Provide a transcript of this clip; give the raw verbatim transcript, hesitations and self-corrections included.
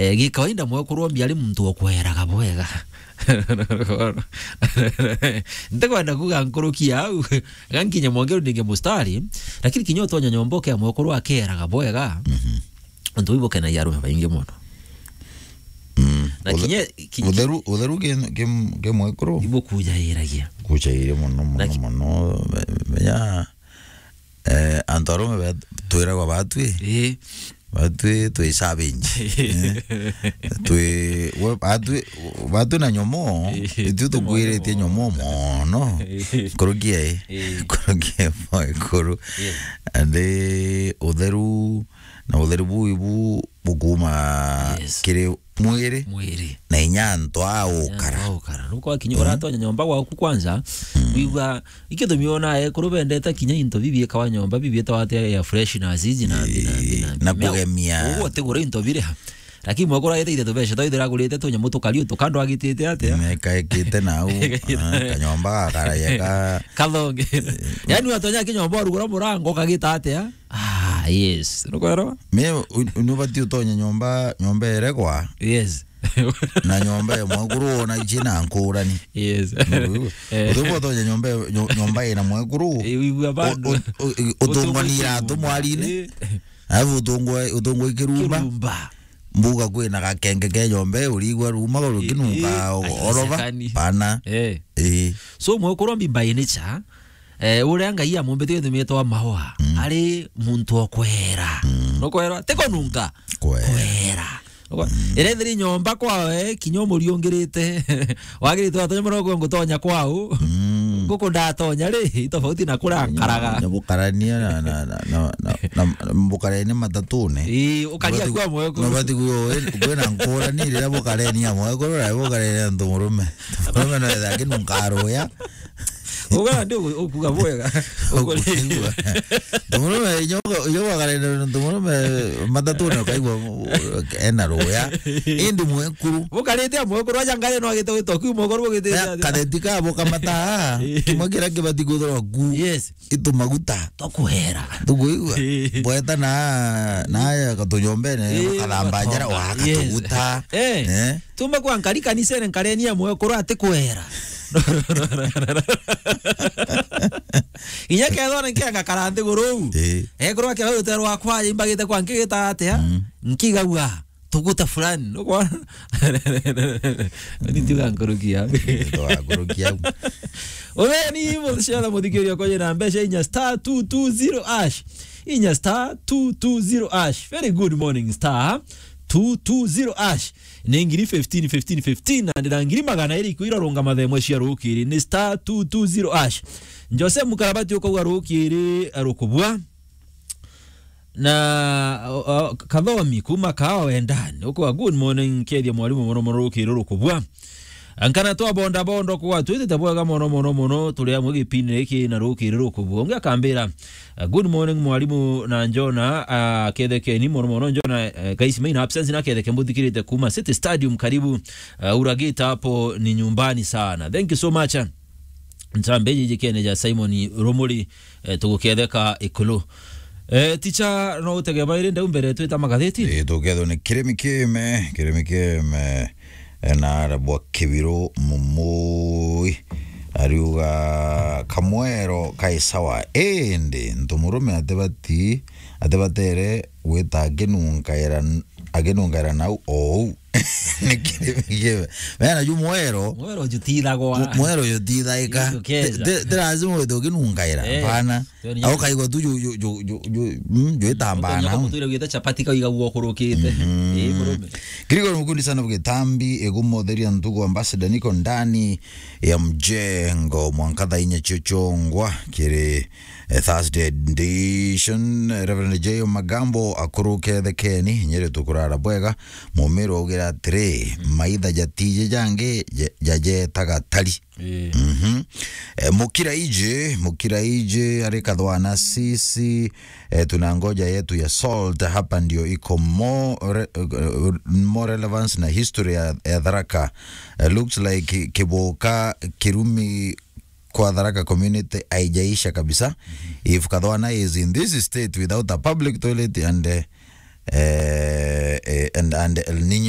Eh, gikawaida mwekuru ombi ari muntu okweraga bwega. Ntikwenda kuga nkuruki au, gankinya mwongeru ninge mustari, lakini kinya utonya nyomba ukea mwekuru akeraga bwega. Mhm. Antu ibo kenagia arume baingi mono. Mm. Na Uthe-, kinya, ki-, utheru, utheru ge, ge, ge mwekuru? Ibo kujairagia. Kujaire mono, mono, Na ki- mono, me-, menya, eh, antu arume be-, twiragwa batwi. Ii. Batwi twi savage. Eh? Twi, we, batwi, batwi na nyomo, Ii. itwi tukwiritie nyomo mono. Ii. Kurukia, eh? Ii. Kurukia mwekuru. Ii. Andi utheru, na utheru buu ibu bukuma Yes. kiri mwiri Mwiri. na inya antu a ukara. Antu a ukara. Nuko akinya Mm. uratonya nyomba gwaku kwanza, Mm. wigua, ikithumi ona ekuru bendete kinya into bibiikawa nyomba, bibiitawa ati air fresheners iji na mbi, na mbi, na mbi. Na Mea-, kugemia. Uguo utigura into biri ha. Lakini mwekuru agite ithe tubeca, twaithira agurite tunyamu tukari utu kando agitite atia? Nekaikite nau. Ah, kanyomba gakaraia ka Kathonge. Yaani watonya kinyomba urugura murango kagita atia? Ah, yes. Nukwero? Me, u-, u-, nubati utonye nyomba, nyomba eregwa. Yes. Na nyomba ya mwekuru wona ici na nkurani. Yes. Nukwigua? Eh. Uthiu utonye nyomba, nyo-, nyomba ina mwekuru. Eh, wigua bado. U-, u-, u-, utungwa ni iratu mwarine. Eh. Alafu utungwa, utungwa ikirumba. Kirumba. Mbuga kwina gakenge ke nyomba, urigwa ruma, rukinunga Eh, eh, oroba. Asekani. Pana. Eh. Eh. So, mwekuru mbi by nature, Eh, uria Ngai amumbite githumi etwa Mahoa, Mm. ari muntu o kwera. Mm. Nukwera, ti kununka. Kwera. Kwera. Nukwe-, Mm. Ira ithiri nyomba kwawe, kinya umuriungirite. Wagirite watonya muno kwe ngutonya kwau. Mm. Nguku ndatonya ri, i tofauti na kuria nkaraga. Nyabukarania na, na, na, na, na, na mbukarania matatune. Ii, ukaria Nubati-, kwa mwekuru. Nubati kuyo, kwina nkurani riria bukarenia mwekuru na bukarenia ntu murume. Ntu murume no etha akinunka ruya. Uga ndi uku-, ukuga bwega. Ukuringwa. Ntu murume, inyo, inyo wakarenda ntu murume matatune ukaigua ena ruya. Indi mwekuru. Bukarite mwekuru aja ngari no agite gwitwa kiu mwekuru bugitite atia? Katheti ka bukamata. Kimwe kiria kibati kwithirwa ku. Yes. Itu maguta. Tukuhera. Tukuigua? Bweta na, na ya katujombene, Eh, kathamba njara, wa katuguta. Eh. Eh. Tuma kwa nkari kanisene nkarenia mwekuru ati kwera. Inya kethwa ni kianga kara nthiguru. Eh. Ekorwa kia rutere rwakwa imbagite kwa nkigita atia? Mm. Nkigagua tuguta fulani. Nukwona? Ni tiga nkurukia. Tiga nkurukia. Utheni muthicera muthikiria kwa na mbeca inya star two two zero hash. Inya star two two zero hash. Very good morning, star two two zero hash. Ni ngiri fifteen, fifteen, fifteen, na ndira ngiri magana iri ikwira runga mathemwe cia rukiri. Ni star two two zero hash. Jose Mukarabati ukauga rukiri rukubua. Na, o, o, Kathomi kuma Kaao Wendani. Ukwa, "Good morning, kethia mwalimu mono mono rukiri rukubua." Nkana twa bonda bondo kwa twitite bwega mono mono mono, turi amwe gipindi giki na rukiri rukubua. Ungi akambira, "Uh, good morning mwalimu na Njona, uh, kethekeni mono mono Njona, uh, guys main absence na ketheke mbuthikirite kuma City Stadium karibu, uh, Uragita hapo ni nyumbani sana." Thank you so much. Ntambe jiji kene ja Simon Rumuri, eh, tuguketheka ikulu. Eh, ticha, no utege bairi ndau mbere twita magatheti? Eh, tukethwo ni Kirimi Kime, Kirimi Kime, eh, na arabwa Kibiru Mumui, ariuga, "Kamwero kai sawa, indi ntu murume atibati, atibatere gwita akinungaira, akinungaira nau ou." Ni Kirimi Kime. Mena ju mwero. Mwero jutithagwa. Mu-, mwero jutithaika. Jukeza. Ti, ti, ti lazima withe ukinungaira. Eh. Hapana. Tio ni au kaigwa tu ju, ju, ju, ju, ju, mm, ju itambana. Utonya kumutwira gwita chapati kaiga guo kurukite. Mhm. Ii, murume. Kiriko ni mukundi sana bugitambi, igumotheria ntugu ambassador niko ndani ya mjengo mwanka thaa inya cio ciongwa kiri, eh, Thursday edition. Reverend J O Magambo akuruke thekeni, nyiri tukurara bwega. Mumiro augira atiri, mm, maitha jatiji jangi ja-, jajetaga tari. Ii. Mhm. Eh, Mukira iji, Mukira iji ari kathwana sisi, eh, tuna ngoja yetu ya salt, hapa ndio iko more, eh, more relevance na history ya, ya Tharaka. Eh, looks like ki-, Kiboka Kirumi kwa Tharaka community haijaisha kabisa. Mhm. If Kathwana is in this state without a public toilet and, eh, eh, eh, and, and El Nino